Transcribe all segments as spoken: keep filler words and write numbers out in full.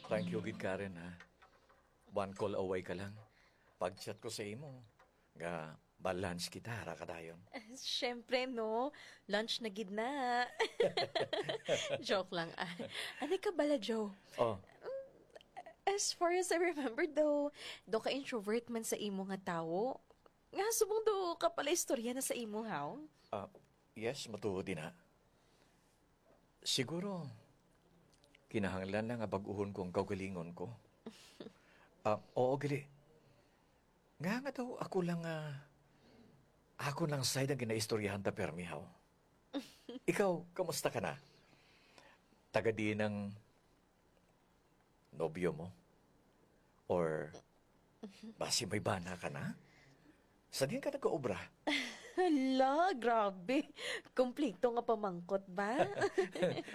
Thank you gid, Karen, ha. One call away ka lang. Pag-chat ko sa imo, nga ba-lunch kita, ara ka dayon. Siyempre, no? Lunch na gid na. Joke lang, ah. Ano ka bala, Joe? Oh. As far as I remember, daw, daw ka introvert man sa imo nga tawo. Nga subong daw ka pala istorya na sa imo, haw? Ah, yes, matuod din, ha. Siguro, kinahanglan lang nga bag-uhon ko ang kaugalingon ko. Ah, oo, gali. Nga nga daw ako lang, ah, ako lang side ang ginaistoryahan ta permi, haw. Ikaw, kamusta ka na? Taga diin ang nobyo mo? Or basi may bana ka na? Sa diin ka nag-obra? Hala, grabe. Kompleto nga pamangkot ba?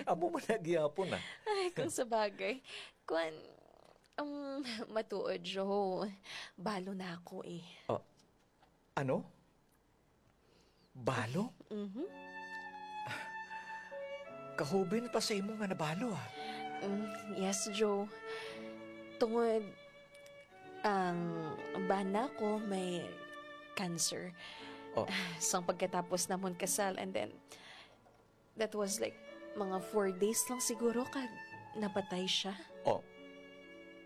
Amo man na gihapon, ah. Ay, kung sa bagay. Kwan, um, matuod, Joe. Balo na ako eh. Ah, ano? Balo? Mhm. Kahuben pa sa imo nga nabalo, ah. Mm, yes, Joe. Tungod ang bana ko may cancer. Oh. Sang pagkatapos namon kasal, and then, that was like, mga four days lang siguro kag napatay siya. Oh.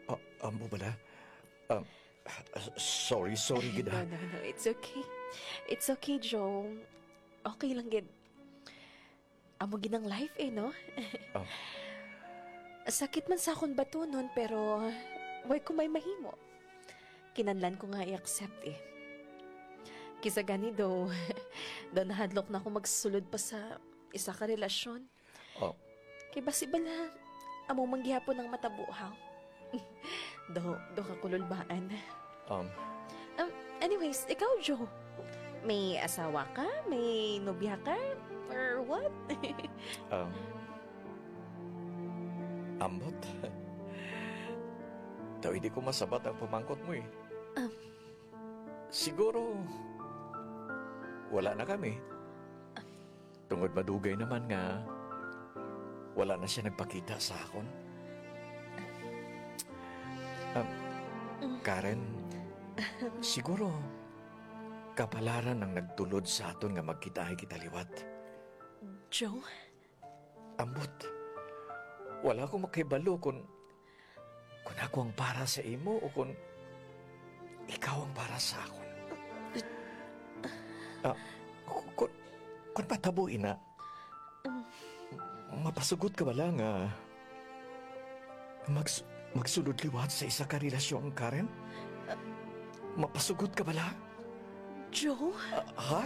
Ah, amo bala? Um, sorry, sorry gid, No, ha. no, no. It's okay. It's okay, Joe. Okay lang gid. Amo gid ang life eh, no? Oh. Sakit man sa akon batunon, pero way ko may mahimo. Kinahanglan ko nga i-accept eh. Kisa gani daw, daw nahadlok na ako magsulod pa sa isa ka relasyon. Oh. Kay basi bala, amo man gihapon ang matabo, ha? Do, do ka kululbaan. Um. Um, anyways, ikaw, Joe, may asawa ka? May nobya ka? Or what? Um, ambot. Daw hindi ko masabat ang pamangkot mo eh. Um. Siguro, wala na kami. Tungod madugay naman nga wala na siya nagpakita sa akon. Ah, Karen, siguro kapalaran ang nagtulod sa aton nga magkitaay kita liwat. Joe? Ambot, wala ko makahibalo kung, kung ako ang para sa imo o kung ikaw ang para sa akon. Ah, ku-, ku-, kun matabo ina, mapasugot ka bala nga mags-, magsulod liwat sa isa ka relasyon, Karen? Mapasugot ka bala? Joe? Ah, ha?